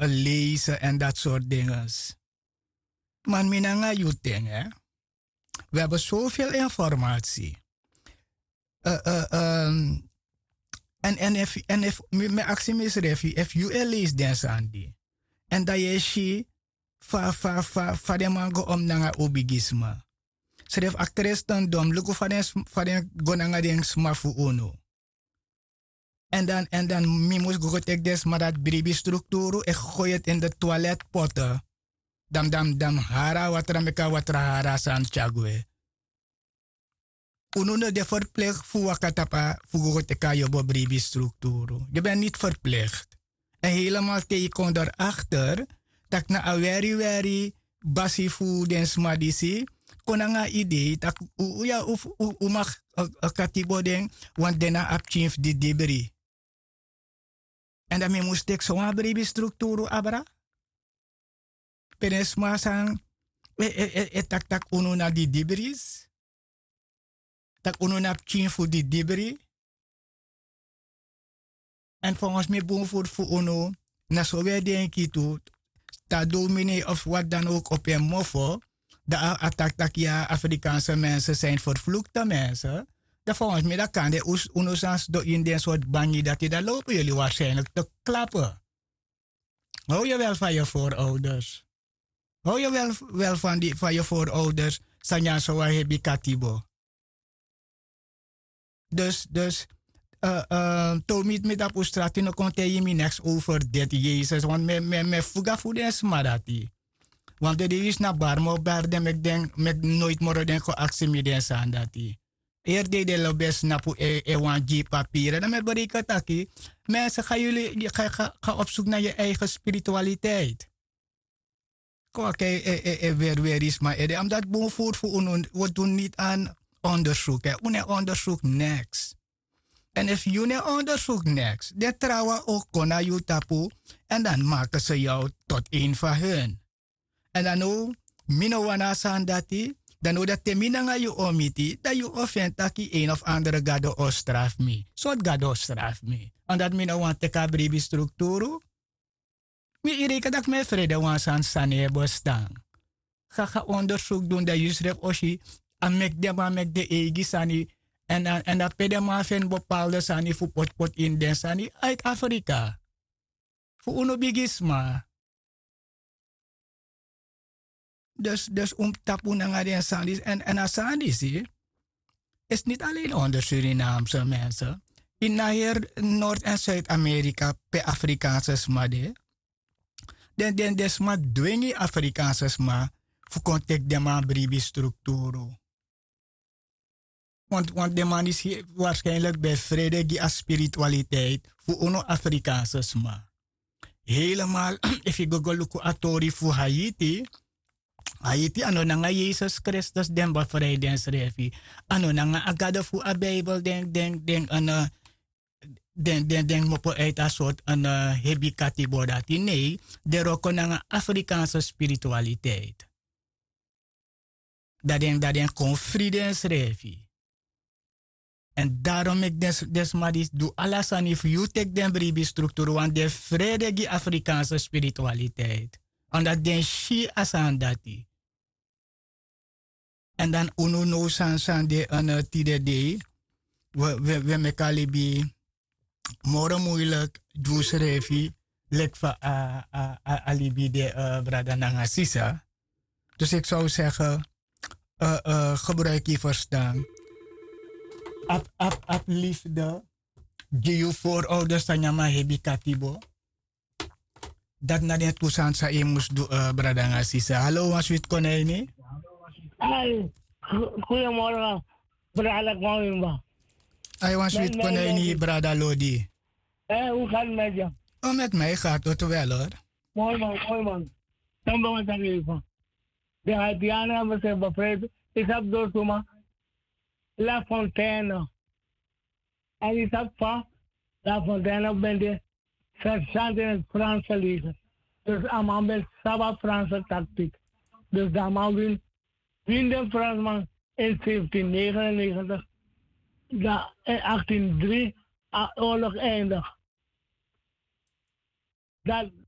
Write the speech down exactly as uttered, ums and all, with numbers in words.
lezen en dat soort dingen. Maar mi nanga yu ten, hè. We hebben zoveel informatie. En en efu en efu mi aksi mi srefi efu yu e leisi den sani di, en dan yu e si fa fa fa fa den man go om nanga un bigi sma. Srefi a kristendom luku fa den go nanga den sma fu unu. En dan en dan mi mus go go teki den sma dati bribi strukturu e goyeti ini de twaletpote. Dan mi dan mi dan mi hari a watra meki a watra hari a sani tyari gwe. Unu no de ferplikti fu waka tapu a fu go go teki a yobo bribi strukturu. Yu ben niti ferplikti. Èn helemal te yu kon dori akter tak' na a weri weri basi fu den sma disi kon nanga a idei tak' un ya un fu un maki katibo den. Wani de na a pikin fu didibri. Èn dan mi mus teki sowan bribi strukturu abra pe den sma san e taki tak' unu na didibris, tak' unu na pikin fu didibri. Èn fongos mi bun furu fu unu na so wi e denki tu. Te a dominei of wati dan owk opo en mofo dan a taki tak' ya afrikaanse mense sin ferflukte mense. Dan fongos mi dan kande unu san sidon ini den sortu bangi dati dan lobi yuli warsijnlik te klape. How yu wel fan yu voorouders? How yu wel fan yu voorouders? San nyan sowan hebi katibo. Dus dus te un miti mi tapu un strati no kon taigi mi neks over deti yesus want mi e fuga fu den sma dati. Want de dei yu si na bari mi o bari den meki den meki noiti moro den kon aksi mi den sani dati. Eri dei den lobi e snapu e wan gi yu papiri dan mi e bereken taki, mense ga yuli ga opsuku na yu eigen spiritualiteit. Kon waki e weri weri sma ede amdati bun furu fu unu. Wi du niti an ondersuku un no e ondersuku neks. Èn efu yu no e ondersuku neks den trawan o kon na yu tapu. Èn dan maki se yu tot en fan hun. Èn dan now mi no wani a sani dati. Dan now dati te mi nanga yu o miti dan yu o feni taki en of andere gado o strafu mi sortu gado o strafu mi. Omdati mi no wani teki a bribi strukturu. Mi ireke daki mi e frede wan sani sani e bestan. Ga ga ondersuku dun dan yu srefi o si a meki den man meki den eigi sani. Èn dan pe den man feni bepalde sani fu potpoti ini den sani aiti afrika fu unu bigisma. Dus dus un mus tapu nanga den sani disi èn a sani disi isi niti alen onder surinamse mense ini na heri nord èn suid-amerika pe afrikaanse sma de. Den den den sma dwingi afrikaanse sma fu kon teki den man bribi strukturu. Want want den man disi waarskijnlik ben frede gi a spiritualiteit fu unu afrikaanse sma. Helemaal efu yu go go luku a tori fu haiti. Haiti a no nanga yesus kristus den befrij densrefi. A no nanga a gado fu a bijbel den den den den den kmopo uit a sort hebi katibo dati nei. Den wroko nanga afrikaanse spiritualiteit. Dan den dan den kon fri densrefi. Èn darom meki den sma disi du ala sani fu yu teki den bribi strukturu wani den frede gi afrikaanse spiritualiteit. Omdati den si a sani dati. Èn dan unu now sani sani de tide dei. Wi e meki a libi moro muilik gi usrefi leki fa a libi de. Brada nanga sisa. Dus iki sow sege gebruiki yu ferstan. Abi abi abi lifde gi yu voorouders san nyan man hebi katibo. Dati na den tu sani san yu mus du. Brada nanga sisa halo wan switi kon na ini. Ai. Goeiemorgen. Brada kwamimba. Ai wan switi kon na ini brada lodi. Hoe gaat het met je? O met mij gaat het wel hoor. Mooi man, mooi man. Dan ben ik even. De Haitianen hebben zich bevrijd. Ik heb door zomaar La Fontaine. En ik heb van La Fontaine ben de sergeant in het Franse leger. Dus a man ben sabi a Franse tactiek. Dus dan man win win den Fransman in zeventien negenennegentig. Dan in achttien drie a oorlog eindig. Dat